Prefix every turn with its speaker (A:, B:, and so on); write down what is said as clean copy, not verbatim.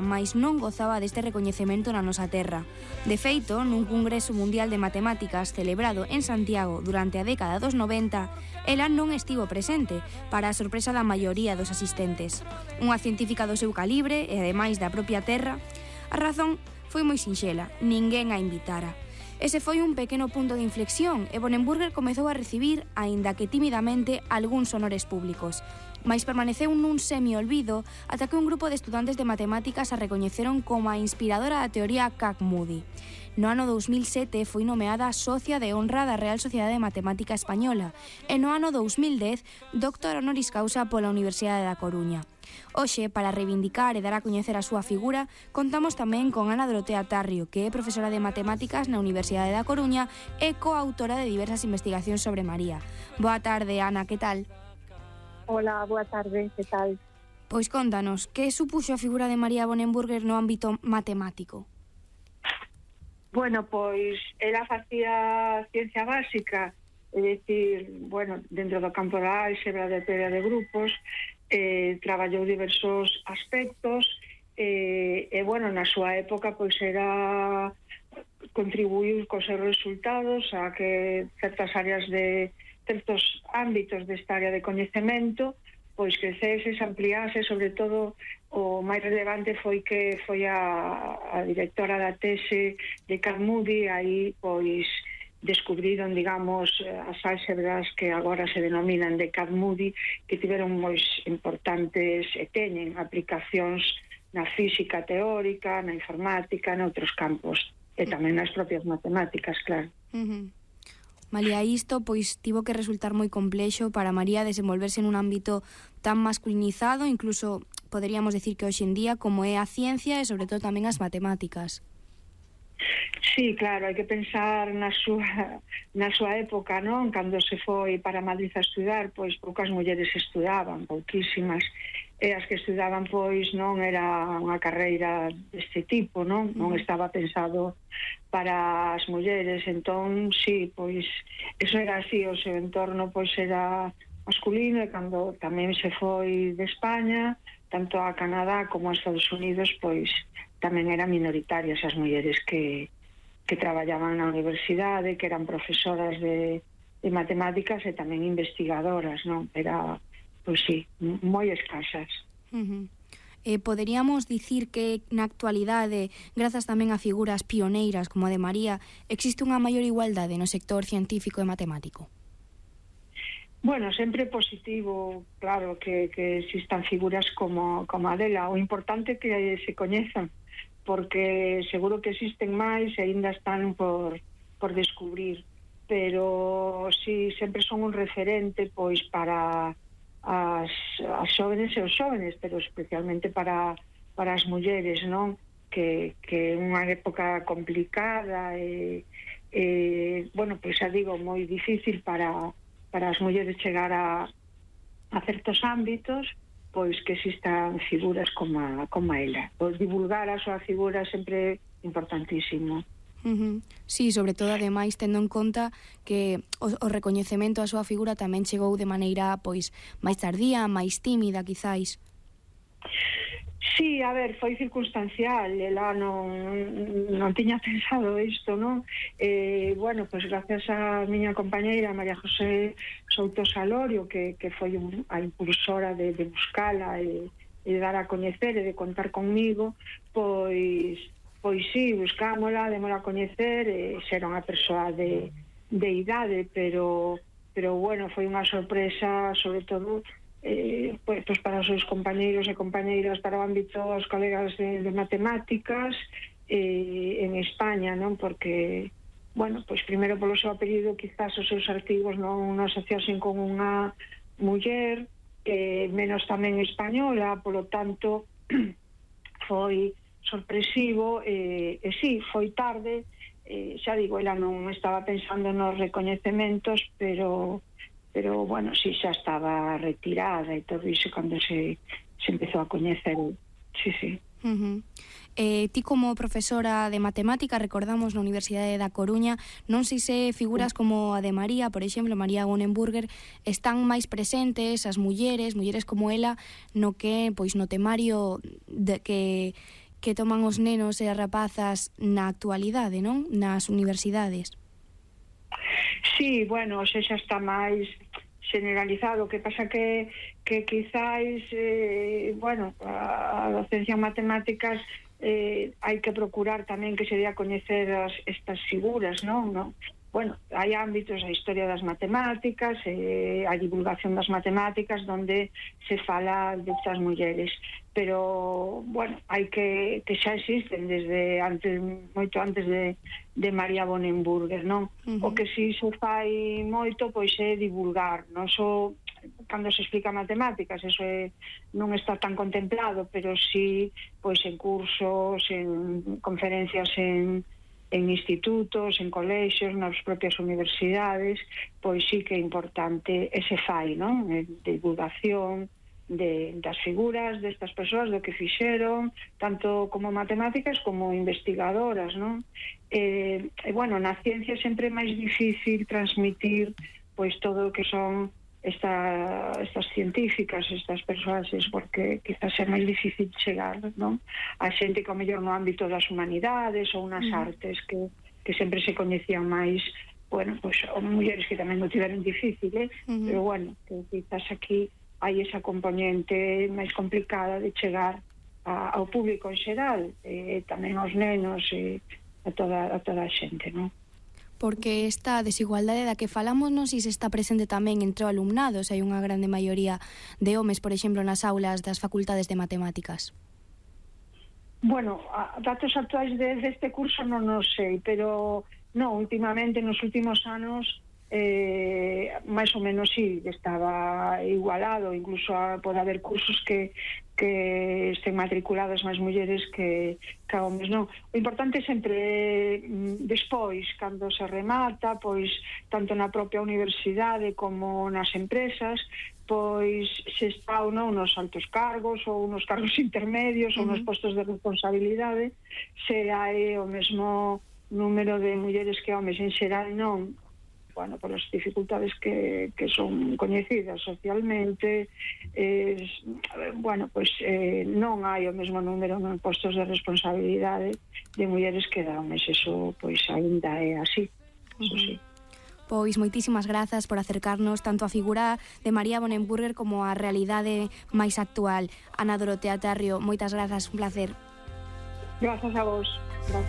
A: mais non gozaba deste recoñecemento na nosa terra. De feito, nun Congreso Mundial de Matemáticas celebrado en Santiago durante a década dos 90, ela non estivo presente, para a sorpresa da maioría dos asistentes. Unha científica do seu calibre e ademais da propia terra, a razón foi moi sinxela, ninguén a invitara. Ese foi un pequeno punto de inflexión e Bonenburger comezou a recibir, aínda que timidamente, algúns honores públicos, mais permaneceu nun semi-olvido ata que un grupo de estudantes de matemáticas a recoñeceron como a inspiradora da teoría Kac-Moody. No ano 2007 foi nomeada socia de honra da Real Sociedade de Matemática Española e no ano 2010 doctor honoris causa pola Universidade da Coruña. Hoxe, para reivindicar e dar a coñecer a súa figura, contamos tamén con Ana Dorotea Tarrio, que é profesora de Matemáticas na Universidade da Coruña e coautora de diversas investigacións sobre María. Boa tarde, Ana, que tal?
B: Hola, boa tarde, que tal?
A: Pois contanos, que supuxo a figura de María Bonenburger no ámbito matemático?
B: Bueno, pois ela facía ciencia básica, é dicir, bueno, dentro do campo da álxebra, de teoría de grupos, traballou diversos aspectos e bueno, na súa época pois era contribuiu cos seus resultados a que certas áreas de certos ámbitos desta área de coñecemento pois crecese, se ampliase, sobre todo o máis relevante foi que foi a directora da tese de Kac-Moody, aí pois descubriron, digamos, as álxebras que agora se denominan de Kac-Moody, que tiveron moi importantes e teñen aplicacións na física teórica, na informática, noutros campos, e tamén nas propias matemáticas, claro.
A: Malia isto, pois tivo que resultar moi complexo para María desenvolverse nun ámbito tan masculinizado, incluso poderíamos decir que hoxe en día, como é a ciencia e sobre todo tamén as matemáticas.
B: Sí, claro, hai que pensar na súa época, non? Cando se foi para Madrid a estudar, pois poucas mulleres estudaban, pouquísimas, e as que estudaban pois non era unha carreira deste tipo, non? Non estaba pensado para as mulleres, entón, sí, pois eso era así, o seu entorno pois era masculino, e cando tamén se foi de España, tanto a Canadá como a Estados Unidos, pois tamén eran minoritarias as mulleres que traballaban na universidade, que eran profesoras de matemáticas e tamén investigadoras, non? Era, pois sí, moi escasas.
A: Poderíamos dicir que na actualidade, grazas tamén a figuras pioneiras como a de María, existe unha maior igualdade no sector científico e matemático?
B: Bueno, sempre positivo, claro, que existan figuras como a dela. O importante é que se coñezan, porque seguro que existen máis e ainda están por descubrir, pero sí, sempre son un referente pois para as xóvenes e os xóvenes, pero especialmente para as mulleres, non? Que é unha época complicada e bueno, pois xa digo, moi difícil para as mulleres chegar a certos ámbitos, pois que existan figuras como ela. Pois divulgar a súa figura sempre importantísimo.
A: Sí, sobre todo, ademais, tendo en conta que o recoñecemento a súa figura tamén chegou de maneira pois máis tardía, máis tímida, quizáis.
B: Sí, a ver, foi circunstancial, ela non tiña pensado isto, non? Bueno, pois gracias a miña compañeira María José Souto Salorio, que foi a impulsora de buscala e dar a coñecer e de contar conmigo, pois sí, buscámola, démola a coñecer, era unha persoa de idade, pero bueno, foi unha sorpresa, sobre todo pois para os seus compañeiros e compañeiras, para o ámbito dos colegas de matemáticas en España, non? Porque, bueno, pois primeiro polo seu apelido, quizás os seus artigos non asociasen con unha muller, menos tamén española, polo tanto foi sorpresivo, e sí, foi tarde, xa digo, ela non estaba pensando nos recoñecementos, pero bueno, sí, xa estaba retirada e todo iso cando se empezou a coñecer. Sí.
A: Ti como profesora de matemática, recordamos na Universidade da Coruña, non sei se figuras como a de María, por exemplo, María Bonenburger, están máis presentes as mulleres como ela, no que, pois no temario que que toman os nenos e as rapazas na actualidade, non? Nas universidades.
B: Sí, bueno, xa está máis generalizado. O que pasa que quizáis, bueno, a docencia en matemáticas hai que procurar tamén que se dé a coñecer estas figuras, non? Bueno, hai ámbitos, a historia das matemáticas, a divulgación das matemáticas, donde se fala destas mulleres. Pero, bueno, hai que xa existen desde antes, moito antes de María Bonenburger, non? O que si se fai moito, pois é divulgar, non só cando se explica matemáticas, eso non está tan contemplado, pero sí, pois en cursos, en conferencias en institutos, en colexios, nas propias universidades, pois sí que é importante ese fai, non? De divulgación das figuras destas persoas, do que fixeron, tanto como matemáticas como investigadoras, non? Bueno, na ciencia sempre é máis difícil transmitir pois todo o que son estas científicas, estas persoas, porque quizás é máis difícil chegar, non? A xente que ao mellor no ámbito das humanidades ou nas artes que sempre se coñecían máis, bueno, pois mulleres que tamén non tiveron difícil, pero bueno, que quizás aquí hai esa componente máis complicada de chegar ao público en xeral, tamén aos nenos e a toda a xente, non?
A: Porque esta desigualdade da que falamos non si se está presente tamén entre o alumnado, se hai unha grande maioría de homes, por exemplo, nas aulas das facultades de matemáticas.
B: Bueno, datos actuais deste curso non os sei, pero non, últimamente, nos últimos anos, máis ou menos sí, estaba igualado, incluso pode haber cursos que estén matriculadas máis mulleres que homes, non? O importante sempre despois, cando se remata, pois tanto na propia universidade como nas empresas, pois se está ou non nos altos cargos ou nos cargos intermedios ou nos postos de responsabilidade, se hai o mesmo número de mulleres que homes. En xeral non, bueno, por as dificultades que son coñecidas socialmente, bueno, pois non hai o mesmo número en postos de responsabilidade de mulleres que de homes. Eso, pois, ainda é así, eso sí.
A: Pois moitísimas grazas por acercarnos tanto a figura de María Bonenburger como a realidade máis actual. Ana Dorotea Tarrio, moitas grazas, un placer.
B: Grazas a vos.